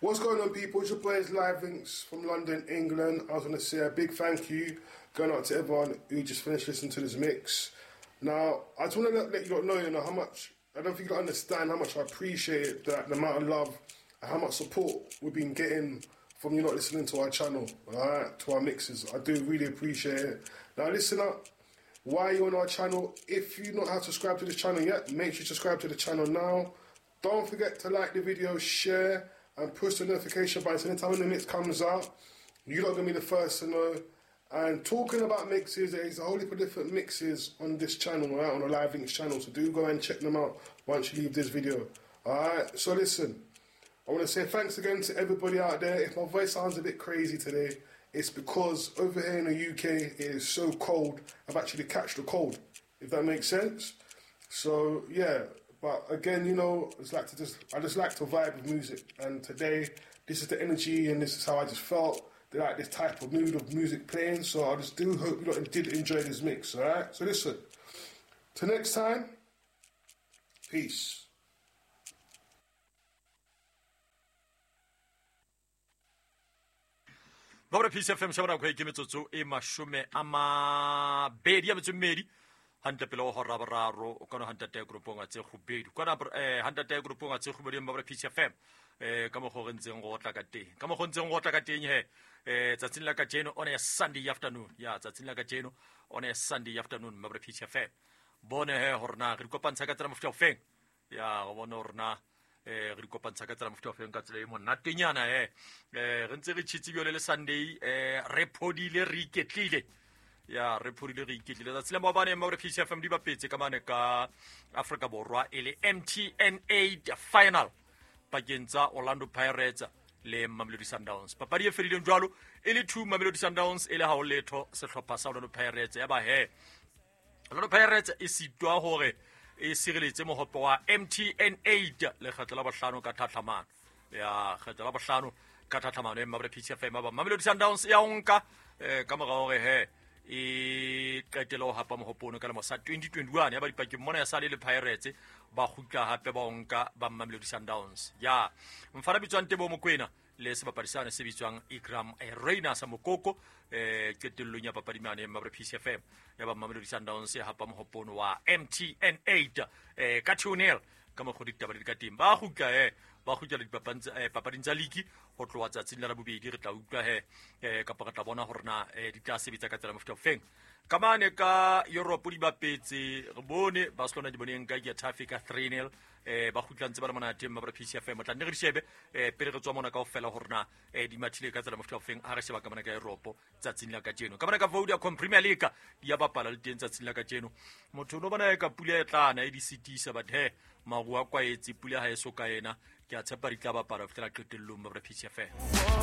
What's going on, people? It's your boys Live Links from London, England. I was going to say a big thank you going out to everyone who just finished listening to this mix. Now, I just want to let you lot know, you know, how much, I don't think you understand how much I appreciate it, that the amount of love and how much support we've been getting from you not listening to our channel, all right, to our mixes. I do really appreciate it. Now, listen up. Why are you on our channel? If you not have subscribed to this channel yet, make sure you subscribe to the channel now. Don't forget to like the video, share, and push the notification button. So anytime the mix comes out, you're not going to be the first to know. And talking about mixes, there's a whole heap of different mixes on this channel, right, on the Live Links channel. So do go and check them out once you leave this video. All right, so listen, I want to say thanks again to everybody out there. If my voice sounds a bit crazy today, it's because over here in the UK, it is so cold. I've actually catched the cold, if that makes sense. So, yeah. But again, you know, it's like to just, I just like to vibe with music. And today, this is the energy and this is how I just felt. They like this type of mood of music playing. So I just do hope you lot did enjoy this mix, all right? So listen, till next time, peace. Babra Peace FM shaba nako e ke metsotso e 28 a metso e mmedi hantle pele go hora boraro o kana hantate group a tse gobedi kana hantate group a tse gobedi Babra Peace FM ka mo go re ntseng go tla ka teng ka mo go ntseng go tla ka teng he tsatsing la kajeno on a Sunday afternoon ya tsatsing la kajeno on a Sunday afternoon Babra Peace FM bone he hore na re kopantsha ka tsela mofuta ofeng ya go bona hore na re di kopantsha ka tsela mofuta ofeng ka tsela e monatenyana he re ntse re tshitse bjole le Sunday re phodile re iketlile ya re phodile re iketlile tsatsi la maobane Babra Peace FM di bapetse ka mane ka Afrika Borwa e le MTN 8 final pakeng tsa Orlando Pirates le Mamelodi Sundowns. Papadi e fedileng jwalo e le 2 Mamelodi Sundowns e le ha o letho sehlopha sa Orlando Pirates ya ba he Orlando Pirates e sitwa hore e sireletse mohope wa MTN 8 lekgetlo la bohlano ka tlhatlhamano ya kgetlo la bohlano ka tlhatlhamano e Babra Peace FM ba Mamelodi Sundowns ya onka ka mora hore he e qetela ho hapa mohope ka lemo sa 2021 ya ba dipakeng mona ya sale le Pirates ba kgutla hape ba onka ba Mamelodi Sundowns ya mfana bitswang Tebo Mokoena le sebapadi sane se bitswang Ikram Reina sa Mokoko qetellong ya papadi mane Babra Peace FM ya ba Mamelodi Sundowns ya hapa mohope wa MTN 8 ka 2-0 ka mokgwa ditaba di ka teng ba kgutla ba kgutla dipapading tsa league ho tloha tsatsing la bobedi re tla utlwa he kapa re tla bona hore na di tla sebetsa ka tsela mofuta ofeng ka mane ka Europe di bapetse re bone Barcelona di boneng ka Getafe ka 3-0 ba kgutla ntse ba le monate Babra Peace FM tla nne re di shebe pele re tswa mona kaofela hore na di mathile ka tsela mofuta ofeng ha re sheba ka mane ka Europe tsatsing la kajeno ka mane ka Vodacom Premier League di ya bapala le teng tsatsing la kajeno motho no bona e ka pula e tlana e di sitisa but he maru a kwaetse pula ha e so ka ena ke a tshepa di tla bapala ho fihlela qetellong Babra Peace FM.